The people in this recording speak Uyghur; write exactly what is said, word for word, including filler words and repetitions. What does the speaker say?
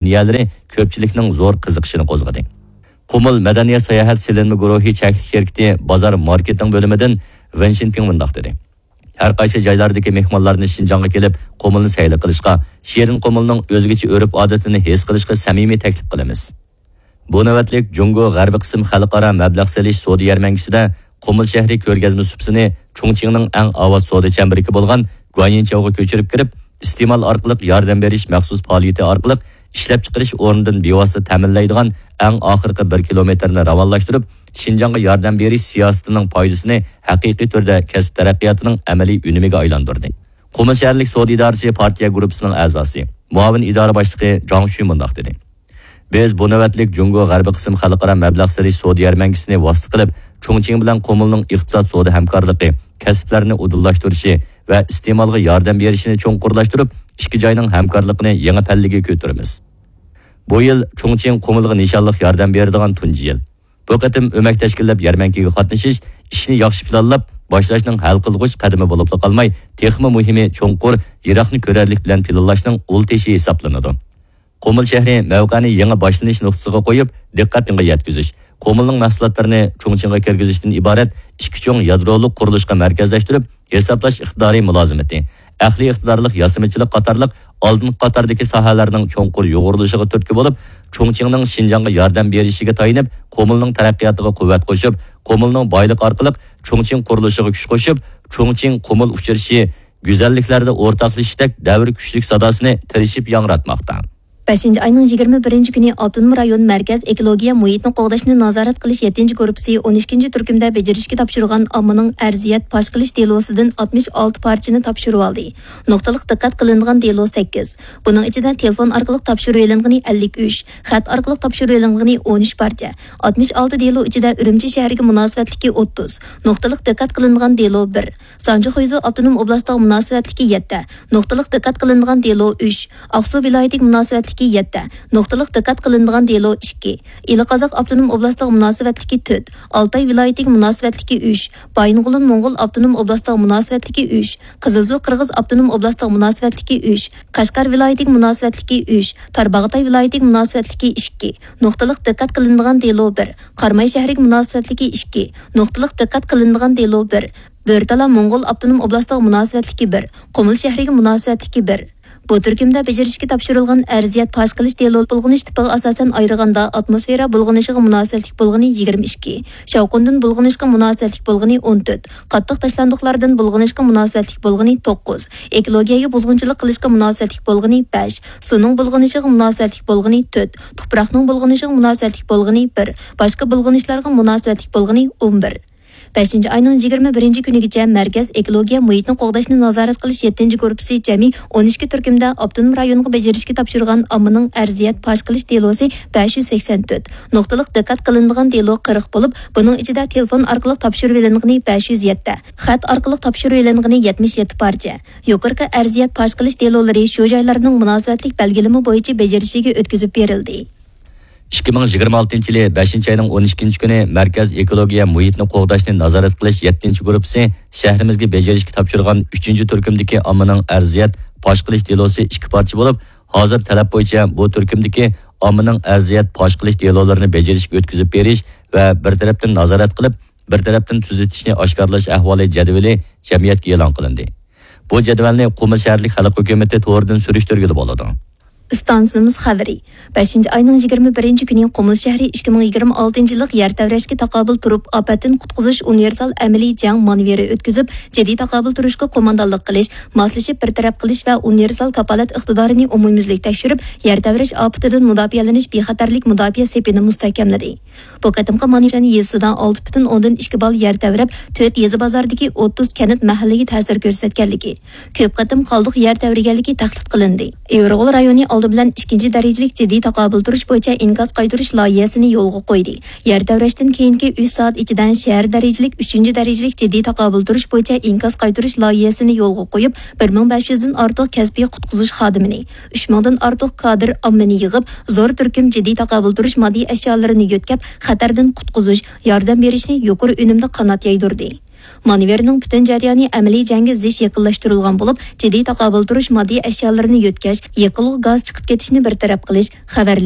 نىيەلىرى كۆپچىلىكنىڭ زور قىزىقىشىنى قوزغىدى. قۇمۇل مەدەنىيەت ساياھەت سېلىنما گۇرۇھى چەكلىك شىركىتى بازار ماركېتىڭ بۆلۈمىدىن ۋېن شىنپىڭ مۇنداق دېدى: ھەر قايسى جايلاردىكى مېھمانلارنى شىنجاڭغا كېلىپ، قۇمۇلنى سەيلە قىلىشقا، شېرىن قۇمۇلنىڭ ئۆزگىچە ئۆرپ-ئادىتىنى ھېس قىلىشقا سەمىمىي تەكلىپ قىلىمىز. بۇ نۆۋەتلىك جۇڭگو غەربىي قىسىم خەلقئارا مەبلەغ سېلىش سودا يەرمەنكىسىدە قۇمۇل شەھىرى كۆرگەزمە سۇپىسىنى چۇڭچىڭنىڭ ئەڭ ئاۋات سودا چەمبىرىكى بولغان گۇەنيىنچياۋغا كۆچۈرۈپ كىرىپ، ئىستېمال ئارقىلىق ياردەم بېرىش مەخسۇس پائالىيىتى ئارقىلىق ئىشلەپچىقىرىش ئورنىدىن بىۋاسىتە تەمىنلەيدىغان ئەڭ ئاخىرقى بىر كىلومېتىرنى راۋانلاشتۇرۇپ، شىنجاڭغا ياردەم بېرىش سىياسىتىنىڭ پايدىسىنى ھەقىقىي تۈردە كەسىپ تەرەققىياتىنىڭ ئەمەلىي ئۈنۈمىگە ئايلاندۇردى. قۇمۇل شەھەرلىك سودا ئىدارىسى پارتىيە گۇرۇپپىسىنىڭ ئەزاسى، مۇئاۋىن ئىدارە باشلىقى جاڭ شۈ مۇنداق دېدى: بىز بۇ نۆۋەتلىك جۇڭگو غەربىي قىسىم خەلقئارا مەبلەغ سېلىش سودا يەرمەنكىسىنى ۋاسىتە قىلىپ، چۇڭچىڭ بىلەن قۇمۇلنىڭ ئىقتىساد سودا ھەمكارلىقى، كەسىپلەرنى ئۇدۇللاشتۇرۇشى ۋە ئىستېمالغا ياردەم بېرىشىنى چوڭقۇرلاشتۇرۇپ، ئىككى جاينىڭ ھەمكارلىقىنى يېڭى پەللىگە كۆتۈرىمىز. بۇ يىل چۇڭچىڭ قۇمۇلغا نىشانلىق ياردەم بېرىدىغان تۇنجى يىل. بۇ قېتىم ئۆمەك تەشكىللەپ يەرمەنكىگە قاتنىشىش ئىشنى ياخشى پىلانلاپ باشلاشنىڭ ھەل قىلغۇچ قەدىمى بولۇپلا قالماي، تېخىمۇ مۇھىمى چوڭقۇر، يىراقنى كۆرەرلىك بىلەن پىلانلاشنىڭ ئۇل تېشى ھېسابلىنىدۇ. قۇمۇل شەھىرى مەۋقەنى يېڭى باشلىنىش نۇقتىسىغا قويۇپ، دىققەتنى يەتكۈزۈش، قۇمۇلنىڭ مەھسۇلاتلىرىنى چۇڭچىڭغا كىرگۈزۈشتىن ئىبارەت ئىككى چوڭ يادرولۇق قۇرۇلۇشقا مەركەزلەشتۈرۈپ، ھېسابلاش ئىقتىدارى مۇلازىمىتى، ئەقلىي ئىقتىدارلىق ياسىمىچىلىق قاتارلىق ئالدىنقى قاتاردىكى ساھەلەرنىڭ چوڭقۇر يۇغۇرۇلۇشىغا تۈرتكە بولۇپ، چۇڭچىڭنىڭ شىنجاڭغا ياردەم بېرىشىگە تايىنىپ، قۇمۇلنىڭ تەرەققىياتىغا قۇۋۋەت قوشۇپ، قۇمۇلنىڭ بايلىقى ئارقىلىق چۇڭچىڭ قۇرۇلۇشىغا كۈچ قوشۇپ، چۇڭچىڭ قۇمۇل ئۇچرىشى، گۈزەللىكلەردە ئورتاقلىشىشتەك دەۋر كۈچلۈك ساداسىنى تىرىشىپ ياڭراتماقتا. بەشىنچى ئاينىڭ يىگىرمە بىرىنچى كۈنى ئاپتونوم رايون مەركەز ئېكولوگىيە مۇھىتنى قوغداشنى نازارەت قىلىش يەتتىنچى گۇرۇپپىسى ئون ئىككىنچى تۈركۈمدە بېجىرىشكە تاپشۇرغان ئاممىنىڭ ئەرزىيەت پاش قىلىش دېلوسىدىن ئاتمىش ئالتە پارچىنى تاپشۇرۇۋالدى. نۇقتىلىق دىققەت قىلىنىدىغان دېلو سەككىز. بۇنىڭ ئىچىدە تېلېفون ئارقىلىق تاپشۇرۇۋېلىنغىنى ئەللىك ئۈچ، خەت ئارقىلىق تاپشۇرۇۋېلىنغىنى ئون ئۈچ پارچە. ئاتمىش ئالتە دېلو ئىچىدە ئۈرۈمچى شەھىرىگە مۇناسىۋەتلىكى ئوتتۇز، نۇقتىلىق دىققەت قىلىنىدىغان دېلو بىر، سانجى خۇيزۇ ئاپتونوم ئوبلاستىغا مۇناسىۋەتلىكى يەتتە، نۇقتىلىق دىققەت قىلىنىدىغان دېلو ئۈچ، ئاقسۇ ۋىلايىتىگە مۇناسىۋەتلىكى يەتتە، نۇقتىلىق دىققەت قىلىنىدىغان دېلو ئىككى، ئىلى قازاق ئاپتونوم ئوبلاستىغا مۇناسىۋەتلىكى تۆت، ئالتاي ۋىلايىتىگە مۇناسىۋەتلىكى ئۈچ، بايىنغولىن موڭغۇل ئاپتونوم ئوبلاستىغا مۇناسىۋەتلىكى ئۈچ، قىزىلسۇ قىرغىز ئاپتونوم ئوبلاستىغا مۇناسىۋەتلىكى ئۈچ، قەشقەر ۋىلايىتىگە مۇناسىۋەتلىكى ئۈچ، تارباغاتاي ۋىلايىتىگە مۇناسىۋەتلىكى ئىككى، نۇقتىلىق دىققەت قىلىنىدىغان دېلو بىر، قاراماي شەھىرىگە مۇناسىۋەتلىكى ئىككى، نۇقتىلىق دىققەت قىلىنىدىغان دېلو بىر، بۆرتالا موڭغۇل ئاپتونوم ئوبلاستىغا مۇناسىۋەتلىكى بىر، قۇمۇل شەھىرىگە مۇناسىۋەتلىكى بىر. بۇ تۈركۈمدە بېجىرىشكە تاپشۇرۇلغان ئەرزىيەت پاش قىلىش دېلو بۇلغىنىش تىپىغا ئاساسەن ئايرىغاندا، ئاتموسفېرا بۇلغىنىشىغا مۇناسىۋەتلىك بولغىنى يىگىرمە ئىككى، شاۋقۇندىن بۇلغىنىشقا مۇناسىۋەتلىك بولغىنى ئون تۆت، قاتتىق تاشلاندۇقلاردىن بۇلغىنىشقا مۇناسىۋەتلىك بولغىنى توققۇز، ئېكولوگىيەگە بۇزغۇنچىلىق قىلىشقا مۇناسىۋەتلىك بولغىنى بەش، سۇنىڭ بۇلغىنىشىغا مۇناسىۋەتلىك بولغىنى تۆت، تۇپراقنىڭ بۇلغىنىشىغا مۇناسىۋەتلىك بولغىنى بىر، باشقا بۇلغىنىشلارغا مۇناسىۋەتلىك بولغىنى ئون بىر. بەشىنچى ئاينىڭ يىگىرمە بىرىنچى كۈنىگىچە مەركەز ئېكولوگىيە مۇھىتنى قوغداشنى نازارەت قىلىش يەتتىنچى گۇرۇپپىسى جەمئىي ئون ئىككى تۈركۈمدە ئاپتونوم رايونغا بېجىرىشكە تاپشۇرغان ئاممىنىڭ ئەرزىيەت پاش قىلىش دېلوسى بەش يۈز سەكسەن تۆت، نۇقتىلىق دىققەت قىلىنىدىغان دېلو قىرىق بولۇپ، بۇنىڭ ئىچىدە تېلېفون ئارقىلىق تاپشۇرۇۋېلىنغىنى بەش يۈز يەتتە، خەت ئارقىلىق تاپشۇرۇۋېلىنغىنى يەتمىش يەتتە پارچە. يۇقىرىقى ئەرزىيەت پاش قىلىش دېلولىرى شۇ جايلارنىڭ مۇناسىۋەتلىك بەلگىلىمە بويىچە بېجىرىشىگە ئۆتكۈزۈپ بېرىلدى. ئىككى مىڭ يىگىرمە ئالتىنچى يىلى بەشىنچى ئاينىڭ ئون ئىككىنچى كۈنى مەركەز ئېكولوگىيە مۇھىتنى قوغداشنى نازارەت قىلىش يەتتىنچى گۇرۇپپىسى شەھىرىمىزگە بېجىرىشكە تاپشۇرغان ئۈچىنچى تۈركۈمدىكى ئاممىنىڭ ئەرزىيەت پاش قىلىش دېلوسى ئىككى پارچە بولۇپ، ھازىر تەلەپ بويىچە بۇ تۈركۈمدىكى ئاممىنىڭ ئەرزىيەت پاش قىلىش دېلولىرىنى بېجىرىشكە ئۆتكۈزۈپ بېرىش ۋە بىر تەرەپتىن نازارەت قىلىپ، بىر تەرەپتىن تۈزىتىشنى ئاشكارىلاش ئەھۋالى جەدۋىلى جەمئىيەتكە ئېلان قىلىندى. بۇ جەدۋەلنى قۇمۇل شەھەرلىك خەلق ھۆكۈمىتى تورىدىن سۈرۈشتۈرگىلى بولىدۇ. ئىستانسىمىز خەۋىرى. بەشىنچى ئاينىڭ يىگىرمە بىرىنچى كۈنى قۇمۇل شەھىرى ئىككى مىڭ يىگىرمە ئالتىنچى يىللىق يەر تەۋرەشكە تاقابىل تۇرۇپ، ئاپەتتىن قۇتقۇزۇش ئۇنىۋېرسال ئەمەلىي جەڭ مانېۋىرى ئۆتكۈزۈپ، جىددىي تاقابىل تۇرۇشقا قوماندانلىق قىلىش، ماسلىشىپ بىر تەرەپ قىلىش ۋە ئۇنىۋېرسال كاپالەت ئىقتىدارىنى ئومۇميۈزلۈك تەكشۈرۈپ، يەر تەۋرەش ئاپىتىدىن مۇداپىئەلىنىش بىخەتەرلىك مۇداپىئە سېپىنى مۇستەھكەملىدى. بۇ قېتىمقى مانېۋىر يېزىسىدا ئالتە پۈتۈن ئوندىن ئىككى بال يەر تەۋرەپ، تۆت يېزا بازاردىكى ئوتتۇز كەنت مەھەللىگە تەسىر كۆرسەتكەنلىكى، كۆپ قېتىم قالدۇق يەر تەۋرىگەنلىكى تەھدىت قىلىندى. ئىۋىرغول رايونى ئالدى بىلەن ئىككىنچى دەرىجىلىك جىددىي تاقابىل تۇرۇش بويىچە ئىنكاس قايتۇرۇش لايىھەسىنى يولغا قويدى. يەر تەۋرەشتىن كېيىنكى ئۈچ سائەت ئىچىدە شەھەر دەرىجىلىك ئۈچىنچى دەرىجىلىك جىددىي تاقابىل تۇرۇش بويىچە ئىنكاس قايتۇرۇش لايىھەسىنى يولغا قويۇپ، بىر مىڭ بەش يۈزدىن ئارتۇق كەسپىي قۇتقۇزۇش خادىمىنى، ئۈچ مىڭدىن ئارتۇق كادىر ئاممىنى يىغىپ، زور تۈركۈم جىددىي تاقابىل تۇرۇش ماددىي ئەشيالىرىنى يۆتكەپ، خەتەردىن قۇتقۇزۇش، ياردەم بېرىشنى يۇقىرى ئۈنۈمدە قانات يايدۇردى. مانېۋىرنىڭ پۈتۈن جەريانى ئەمەلىي جەڭگە زىچ يېقىنلاشتۇرۇلغان بولۇپ، جىددىي تاقابىل تۇرۇش ماددىي ئەشيالىرىنى يۆتكەش، يېقىلغۇ گاز چىقىپ كېتىشنى بىر تەرەپ قىلىش، خەۋەرلىك